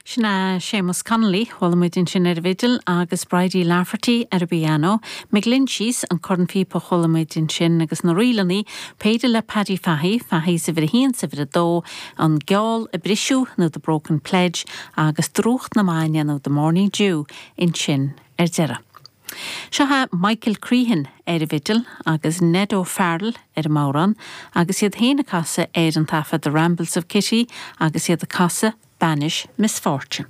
Sin é Séamus Connolly, chuala muid ansin ar an bhfidil, agus Bridie Lafferty ar an bpianó, McGlinchey's, an cornphíopa a chuala muid ansin, agus na ríleanna, péire le Paddy Fahy, Fahy's uimhir a haon 's uimhir a dó, An Geall a Briseadh nó The Broken Pledge agus Drúcht na Maidne nó The Morning Dew ansin ar deireadh. Seo é Michael Crehan ar an bhfidil agus Ned O'Farrell ar an mbodhrán agus iad féin ag casadh ar an taifead The Rambles of Kitty agus iad ag casadh Banish Misfortune.